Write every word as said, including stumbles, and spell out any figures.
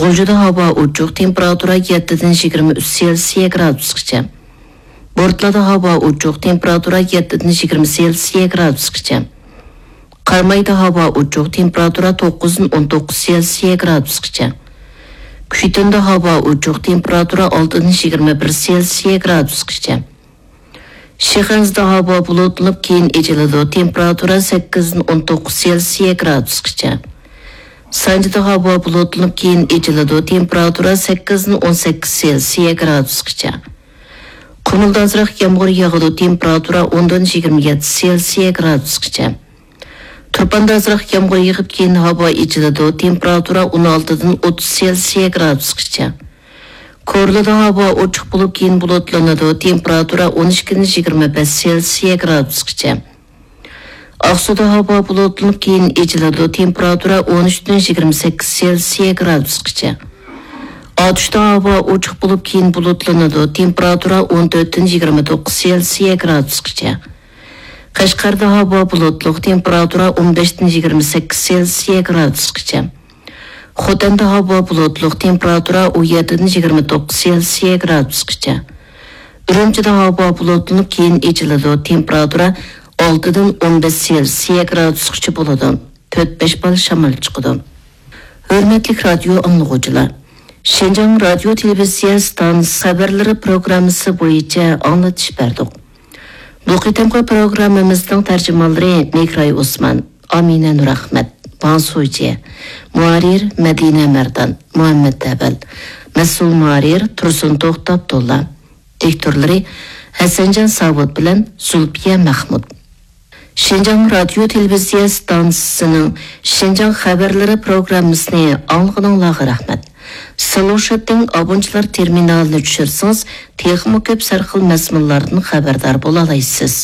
غۇلجىدا ھاۋا ئوچۇق، تېمپېراتۇرا يەتتىدىن يىگىرمە ئۈچ سېلسىيە گرادۇسقىچە. بورتالادا ھاۋا ئوچۇق، تېمپېراتۇرا يەتتىدىن يىگىرمە سېلسىيە گرادۇسقىچە. قارامايدا ھاۋا ئوچۇق، تېمپېراتۇرا توققۇزدىن ئون توققۇز سېلسىيە گرادۇسقىچە. كۈچىتىندە ھاۋا ئوچۇق، تېمپېراتۇرا ئالتىدىن يىگىرمە بىر سېلسىيە گرادۇسقىچە. شىخەنزىدە ھاۋا بۇلۇتلىنىپ، كېيىن ئېچىلىدۇ، تېمپېراتۇرا سەككىزدىن ئون توققۇز سېلسىيە گرادۇسقىچە. سانجىدا ھاۋا بۇلۇتلىنىپ، كېيىن ئېچىلىدۇ، تېمپېراتۇرا سەككىزدىن ئون سەككىز سېلسىيە گرادۇسقىچە. قۇمۇلدا ئازراق يامغۇر ياغىدۇ، تېمپېراتۇرا ئوندىن يىگىرمە يەتتە سېلسىيە گرادۇسقىچە. تۇرپاندا ئازراق يامغۇر يېغىپ، كېيىن ھاۋا ئېچىلىدۇ، تېمپېراتۇرا ئون ئالتىدىن ئوتتۇز سېلسىيە گرادۇسقىچە. كورلىدا ھاۋا ئوچۇق بولۇپ، كېيىن بۇلۇتلىنىدۇ، تېمپېراتۇرا ئون ئىككىدىن يىگىرمە بەش سېلسىيە گرادۇسقىچە. ئاقسۇدا ھاۋا بۇلۇتلىنىپ، كېيىن ئېچىلىدۇ، تېمپېراتۇرا ئون ئۈچتىن يىگىرمە سەككىز سېلسىيە گرادۇسقىچە. ئاتۇشتا ھاۋا ئوچۇق بولۇپ، كېيىن بۇلۇتلىنىدۇ، تېمپېراتۇرا ئون تۆتتىن يىگىرمە توققۇز سېلسىيە گرادۇسقىچە. قەشقەردە ھاۋا بۇلۇتلۇق، تېمپېراتۇرا ئون بەشتىن يىگىرمە سەككىز سېلسىيە گرادۇسقىچە. خوتەندە ھاۋا بۇلۇتلۇق، تېمپېراتۇرا ئون يەتتىدىن يىگىرمە توققۇز سېلسىيە گرادۇسقىچە. ئۈرۈمچىدە ھاۋا بۇلۇتلىنىپ، كېيىن ئېچىلىدۇ، تېمپېراتۇرا ئالتىدىن ئون بەش سېلسىيە گرادۇسقىچە بولىدۇ. تۆت-بەش بال شامال چىقىدۇ. ھۆرمەتلىك رادىيو ئاڭلىغۇچىلار، شىنجاڭ رادىيو تېلېۋىزىيە ئىستانسىسى خەۋەرلىرى پروگراممىسى بويىچە ئاڭلىتىش بەردۇق. بۇ قېتىمقى پروگراممىمىزنىڭ تەرجىمانلىرى مىكراي ئوسمان، ئامىنە نۇرئەخمەت، ۋاڭ سۇجيې، مۇھەررىر مەدىنە مەردان، مۇھەممەت ئەۋەل، مەسئۇل مۇھەررىر تۇرسۇن توختى ئابدۇللا، دىكتورلىرى ھەسەنجان ساۋۇت بىلەن زۇلپىيە مەخمۇت. شىنجاڭ رادىيو تېلېۋىزىيە ئىستانسىسىنىڭ شىنجاڭ خەۋەرلىرى پروگراممىسىنى ئاڭلىغىنىڭلارغا رەھمەت. سىلۇشىتىڭ ئابۇنچىلار تېرمىنالىنى چۈشۈرسىڭىز، تېخىمۇ كۆپ سەرخىل مەزمۇنلاردىن خەۋەردار بولالايسىز.